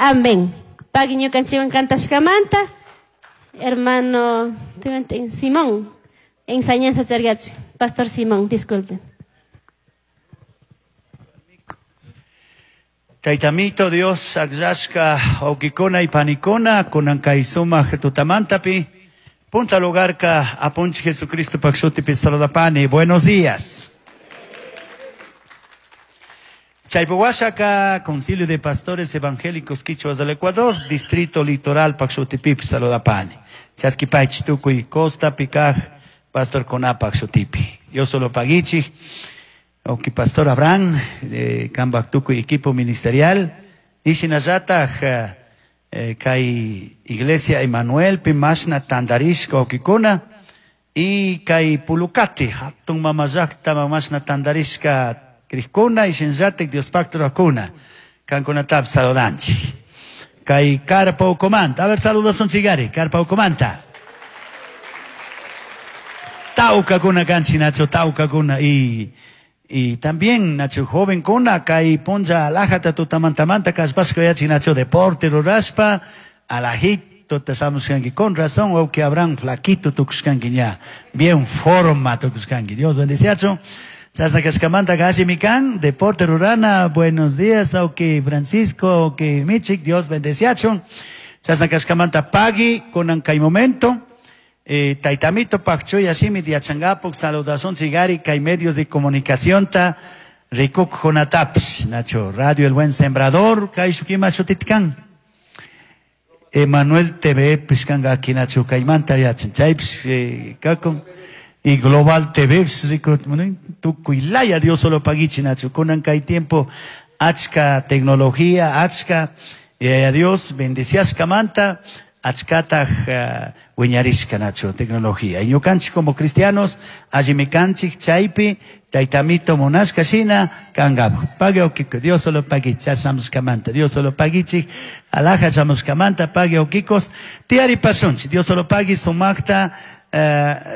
Amén. Pagui ñukanchikwan cantashkamanta, hermano Simón, enseñanza chargachi. Pastor Simón, disculpen. Taytamito Dios akllashka wawkikuna y panikuna kunan kay sumaq tutamantapi punta lugarka apunchik Jesucristo pak shutipi saludapani. Buenos días. Chaypuwashaka Concilio de Pastores Evangélicos Quichuas del Ecuador, Distrito Litoral pak shutipipi saludapani. Chaskipaychik tukuy costa pikaj pastor kunapak shutipi. Dios solo pagichik. Oki Pastor Abraham, eh, kambak tukuy equipo ministerial, y shinallataj eh, kay Iglesia Emanuel pi mashna tandarishka wawkikuna, y kay Pulucati, hatun mamallakta mashna tandarishka crikuna, y shinallatik Diospakta rurakuna, kankunatapish saludanchik. Kay Carpa Ucumanta, a ver saludasunchikari, Carpa Ucumanta. Tawkakuna kanchik nacho, tawkakuna y y también nacho joven kuna kay punlla alajata tutamantamanta kallpashka yachin nacho deporte rurashpa alajito tashamushkanki con razón wawki Abraham flaquito tukushkanki ña bien forma tukushkanki. Dios bendiciacho. Chashna kashkamanta allimi kan deporte rurana. Buenos días wawki Francisco, wawki Michik, Dios bendiciacho. Chashna kashkamanta pagui kunan kay momento. Taytamito pakchuy shimi yachangapuk saludasunchikari kay medios de comunicación ta rikuk junatapish nacho Radio El Buen Sembrador kay shukima shutitkan Emanuel TV pishkanga aki nacho kaymanta yachan chaypish kakun y Global TV rikut tukuy laya Dios solo pagichi nacho kunan kay tiempo achka tecnología achka y a Dios bendiciashkamanta achkataj wiñarishka nacho tecnología. Y ñukanchik como cristianos, allimi kanchik chaypi, taytamito munashka shina, kangapak. Pague okiko, Dios solo pagichik, chashamushkamanta, Dios solo pagichik, alaja chamushkamanta, pague okikos, tiyari pasunchik, Dios solo pagui sumakta,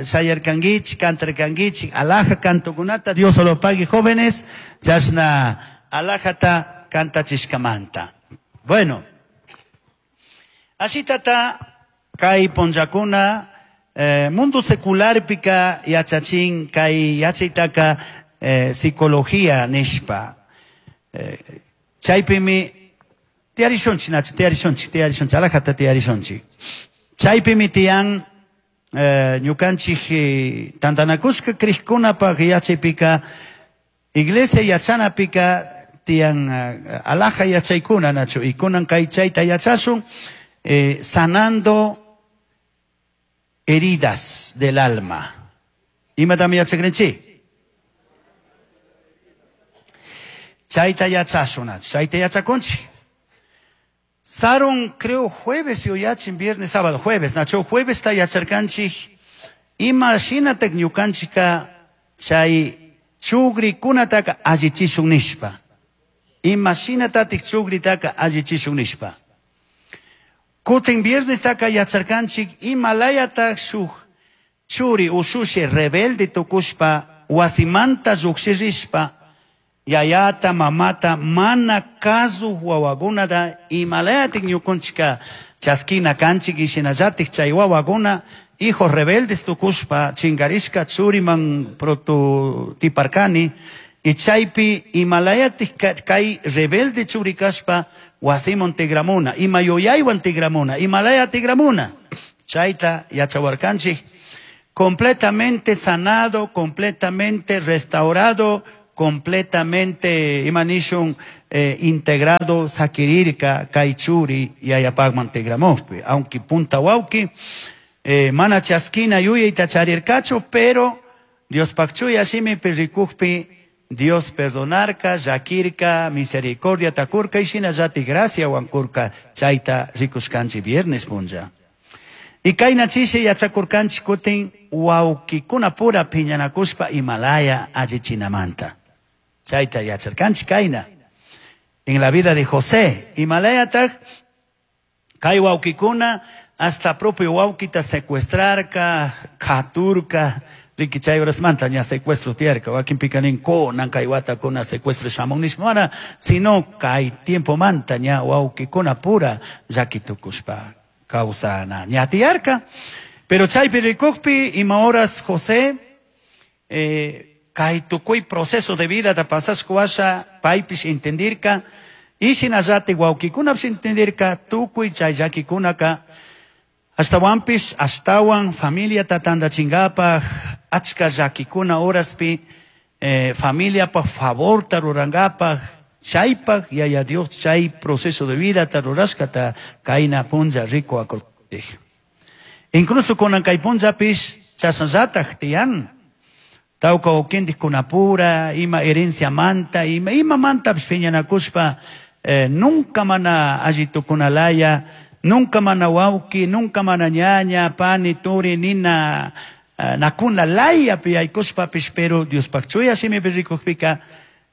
shayarkanguichik, cantarkanguichik, alaja cantokunata, Dios solo pagui jóvenes, chashna alajata cantachishkamanta. Bueno, ashitata kay punllakuna mundo secularpika yachachin kay yachaytaka psicología nishpa. Chaypimi tiyarishunchik nacho, tiyarishunchik, tiyarishunchik, alajata tiyarishunchik. Chaypimi tiyan ñukanchik tantanakushka krikkunapaq yachaypika iglesia yachanapika tiyan alaja yachaykuna nacho, y kunan kay chayta yachasun sanando heridas del alma. Imatami yachakrinchik? Chayta yachasun, nacho, chayta yachakunchik. Sarun, creo, jueves yuyachin, viernes, sábado, jueves, nacho, jueves ta yacharkanchik. Ima shinatak ñukanchika chay chugrikunataka allichishun nishpa. Ima shinatatik chugritaka allichishun nishpa. Kutin viernes taka yacharkanchik, imalayata shuk churi ushushi rebelde tukushpa, wasimanta llukshirishpa, yayata, mamata, mana kazu wawakunata, imalayatik ñukunchika chaskina kanchik, ishinallatik chay wawakuna, hijos rebeldes tukushpa, chingarishka churiman prototiparkani, y chaypi imalayatik kay rebelde churi kashpa, wasiman tigramuna, ima yuyaywan tigramuna, imalaya tigramuna. Chayta yachawarkanchik, completamente sanado, completamente restaurado, completamente imanishun integrado sakirirka kay churi yayapakman tigramujpi. Aunque punta wawki, mana chaskina yuyayta charirkachu, pero Dios pakchuya shimipi rikujpi Dios perdonarka, llakirka, misericordia takurka y shinallati gracia wankurka chayta rikushkanchik viernes punlla. Y kayna chishi yachakurkanchik kutin wawkikuna pura piñanakushpa Himalaya allichinamanta. Chayta yacharkanchik kayna. En la vida de José, Himalayataq kay wawkikuna hasta propio wawkita secuestrarka, katurka, Riki chay horasmanta ña secuestro tiyarka, wakinpika nin kunan kay watakuna secuestro shamun nishpa mana, sino kay tiempomanta ña wawkikuna pura llaki tukushpa kawsana ña tiyarka. Pero chaypi rikukpi ima horas José kay tukuy proceso de vida ta pasashka washa paypish entendirka y shinallatik wawkikunapish entendirka tukuy chay llakikunaka ashtawanpish ashtawan familiata tantachinkapak achka llakikuna horaspi familiapaj favorta rurankapak chaypak Yaya Dios chay proceso de vida ta rurashkata kayna punlla rikuwakurkanchik. Incluso kunan kay punllapish chashnallatak tiyan. Tawka wawkintikkunapura, ima herenciamanta, ima imamantapish piñanakushpa nunca mana alli tukunalaya, nunca mana wawki, nunca mana ñaña, pani, turi, nina, nakuna layapi yaykushpapish, pero Diospaj chuya shimipi rikukpika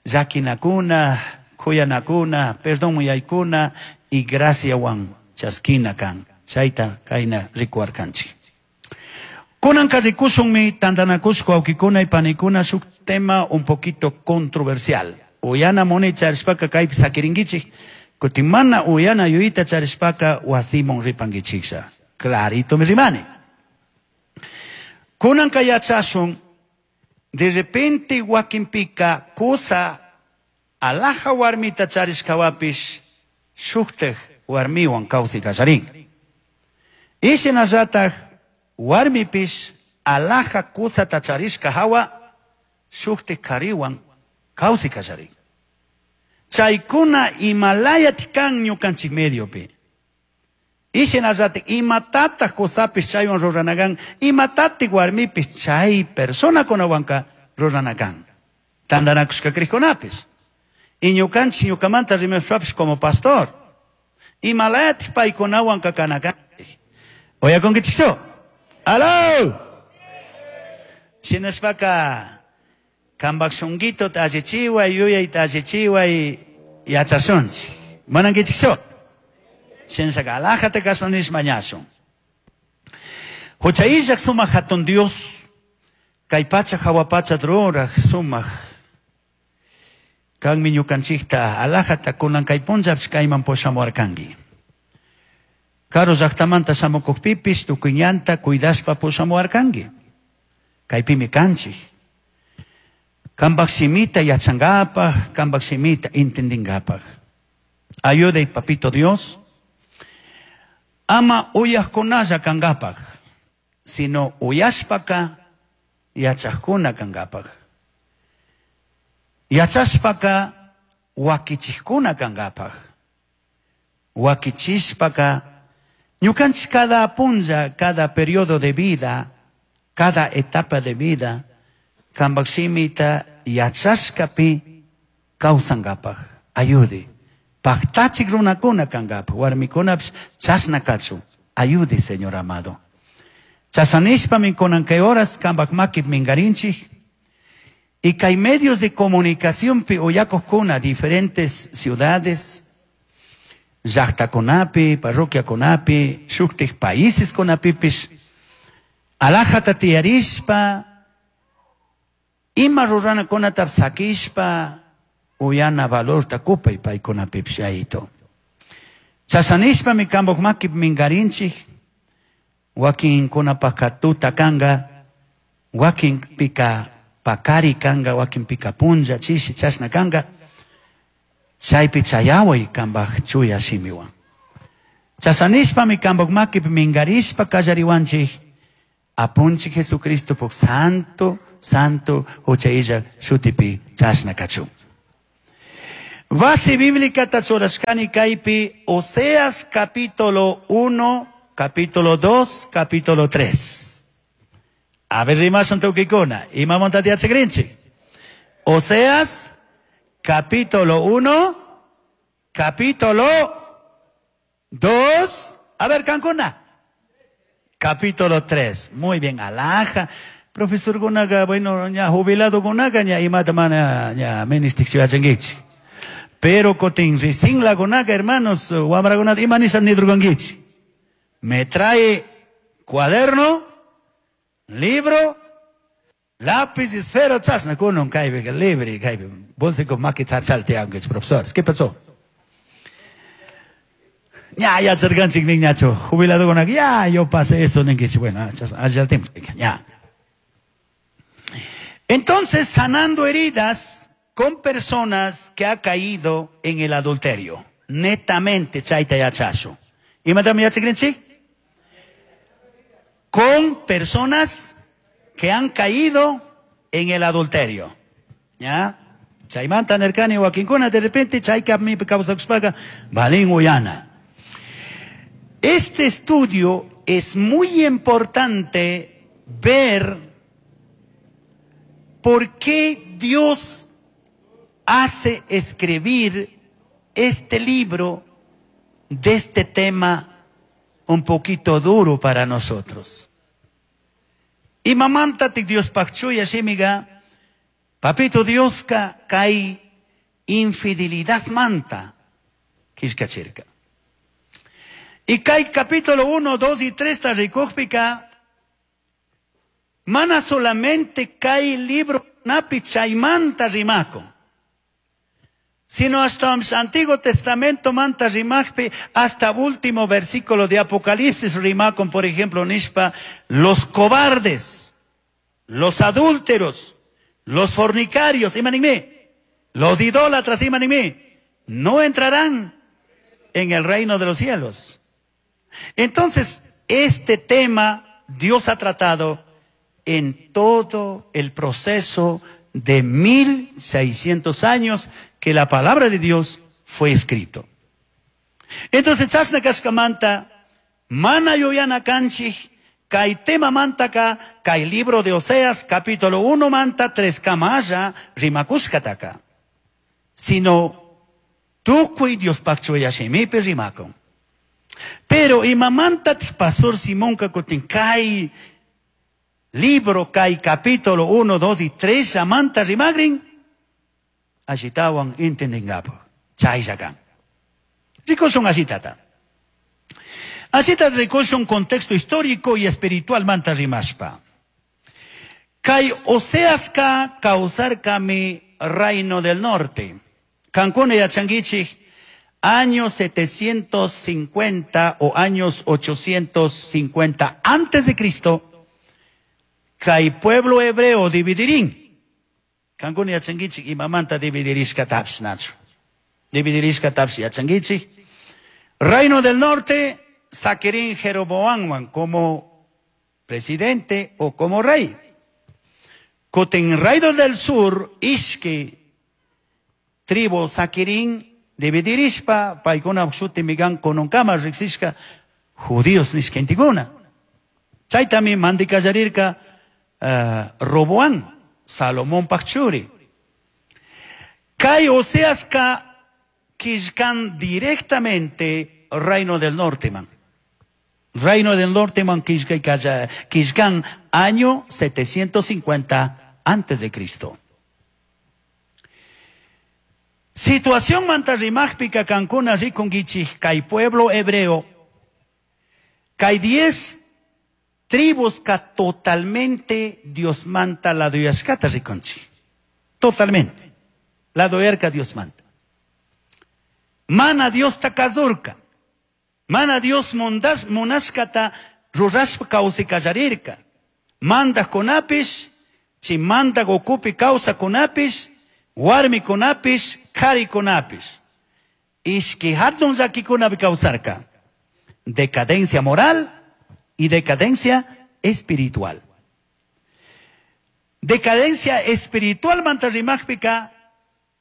llakinakuna, kuyanakuna, perdón yaykuna y graciawan chaskina kan. Chayta kayna rikuwarkanchik. Kunanka rikushunmi tantanakushka wawkikuna y panikuna shuk tema un poquito controversial. Uyana munay charishpaka kaypi sakirinkichik, kutin mana uyana yuyayta charishpaka wasiman ripankichiklla. Clarito mi rimani. Kunanka yachashun, de repente wakinpika kusa alaja warmita charishkawapish shuktaj warmiwan kawsay kallarin. Y shinallataj warmipish alaja kusata charishka hawa shuktaj kariwan kawsay kallarin. Chaykuna imalayat kan ñukanchik mediopi. Y shinallataj imatataj kusapish chaywan ruranakan, imatataj warmipish chay personakunawanka ruranakan. Tantanakushka krikkunapish. Y ñukanchik ñukamanta rimashpapish como pastor. Imalayataj paykunawanka kanakanchik. Uyakunkichikchu? ¡Aló! Shinashpaka kanpak shunquito allichiway, yuyayta allichiway yachashunchik. Manankichikchu? Shinashaka alajata kasanish mañashun. Hucha illak sumak hatun Dios, kay pacha hawa pacha ruraj sumak kanmi ñukanchikta alajata kunan kay punllapish kayman pushamuwarkanki. Karu llaktamanta shamukukpipish tukuy ñanta cuidashpa pushamuwarkanki. Kaypimi kanchik. Kanpak shimita yachankapak, kanpak shimita entendinkapak. Ayuday, papito Dios, ama uyajkunalla kankapak, sino uyashpaka yachajkuna kankapak. Yachashpaka wakichijkuna kankapak. Wakichishpaka ñukanchik cada punlla, cada periodo de vida, cada etapa de vida, kanpak shimita yachashkapi kawsankapak. Ayude. Paktachik runakuna kankapak, warmikunapish chashna kachun. Ayude, Señor amado. Chashanishpami kunan kay horas kanpak makip minkarinchik. Y kay medios de comunicación pi uyakojkuna diferentes ciudades, llaktakunapi, parroquiakunapi, shuktik países kunapipish, alajata tiyarishpa, ima ruranakunata sakishpa, uyana valorta kupay paykunapipish ayito. Chashanishpami kanpak makip minkarinchik, wakinkunapaka tuta kanka, wakinpika pakari kanka, wakinpika punlla, chishi, chashna kanka, chaypi chayaway kanpak chuya shimiwan. Chashanishpami kanpak makip minkarishpa kallariwanchik, apunchik Jesucristo santo, santo hucha illak shutipi chashna kachun. Base bíblica tachurashkani kaypi Oseas capítulo 1, capítulo 2, capítulo 3. A ver, rimashun tukikuna. Imamanta yachakrinchik. Oseas capítulo 1, capítulo 2. A ver, kankuna. Capítulo 3. Muy bien, alaja. Profesor kunaga, bueno, ña jubilado kunaga, ña imata mana, ña ministik yachankichik. Pero kotin risin lagunaga, hermanos, wamrakunata ima nisha nidurkankichik. Me trae cuaderno, libro Lápiz, esfero, chashna kunan kaypiqa libre kaypi. Bolsico makita salteankichik, profesores. ¿Qué pasó? Ya, yacharqanchik ninñachu. Jubiladokunaqa, ya, yo pasé eso ninkichik. Bueno, allá tiempo, ya. Entonces, sanando heridas con personas que ha caído en el adulterio. Netamente, chayta yachashu. Imatami yachakrinchik? Con personas que han caído en el adulterio. ¿Ya? Chaymanta nirkani wakinkuna de repente chayka mi kawsakushpaqa valin uyana. Este estudio es muy importante ver por qué Dios hace escribir este libro de este tema un poquito duro para nosotros. Imamantatik Diospaj chuya shimiga, papito Dioska kay infidelidad manta killkachirka. Y kay capítulo 1, 2 y 3 ta rikujpika, mana solamente kay libro napi chaymanta rimakun, sino hasta Antiguo Testamento manta rimajpi, hasta último versículo de Apocalipsis rimakun, por ejemplo, nishpa, los cobardes, los adúlteros, los fornicarios, imanime, los idólatras, imanime, no entrarán en el reino de los cielos. Entonces, este tema Dios ha tratado en todo el proceso de 1600 años que la palabra de Dios fue escrito. Entonces, chashna kashkamanta, mana yuyana kanchik, kay tema mantaka, kay libro de Oseas, capítulo 1 manta, 3 kamalla, rimakushkataka. Sino, tukuy Diospaj chuya shimipi rimakun. Pero imamanta pastor Simón kakutin kay libro, kay capítulo 1, 2 y 3, amanta rimagrin, ashitawan intendingapo. Chayllakan. Rikushun ashitata. Ashita rikushun contexto histórico y espiritual manta rimashpa. Kay Oseaska kawsarkami reino del norte. Kankuna yachankichik, años 750 o años 850 antes de Cristo, kay pueblo hebreo dividirín. Kankuna yachankichik imamanta dividirishka tapsh nachu. Dividirishka tapsh yachankichik. Reino del norte, saquirín Jeroboamwan como presidente o como rey. Kutin reino del sur, ishki tribu saquirín dividirishpa, paykuna shuti migan kununkama riksishka judíos nishkentikuna. Chaytami mandikallarirka Roboán, Salomón pachuri. Kay Oseaska killkan directamente reino del norte man. Reino del norte man killkan año 750 antes de Cristo. Situación manta rimajpika kankuna rikunkichik kay pueblo hebreo, kay 10 tribus ka totalmente Dios manta la doyashkata rikunchik. Totalmente. La doyarka Dios manta. Mana Dios ta kazurka. Mana Dios mundas munashkata rurashpa kawsikallarirka. Manda kunapish, chi manda gokupi kawsa kunapish, warmi kunapish, kari kunapish. Ishki hatun llakikunapi kawsarka. Decadencia moral y decadencia espiritual. Decadencia espiritual manta rimajpika,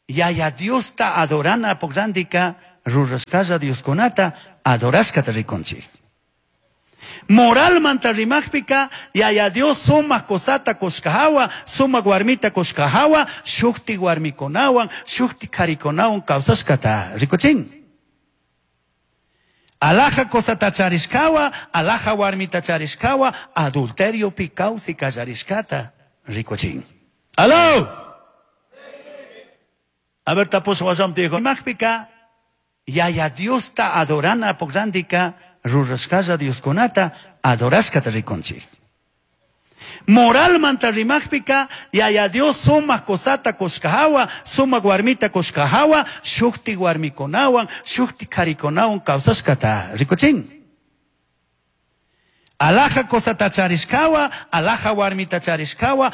yaya Dios ta adorana pograndika, rurashkalla Dios kunata, adorashkata rikunchik. Moral manta rimajpika, yaya Dios sumak kosata koshkahawa, sumak warmita koshkahawa, shukti warmikunawan, shukti karikunawan kawsashkata rikuchin. Alaja kosata charishkawa, alaja warmita charishkawa, adulterio pi kawsi kallarishkata rikuchin. ¡Aló! A ver, tapuso wasam dijo, majpika, yaya Dios ta adorana pograndika, rurashkalla Dios kunata, adorashkata rikunchik. Moralmanta rimajpica, Yaya Dios sumaj cusata cushka hawa, sumaj warmita cushka hawa, shukti warmikunawan, shukti karikunawan kawsashkata rikuchin. Alaja cusata charishkawa, alaja warmita charishkawa.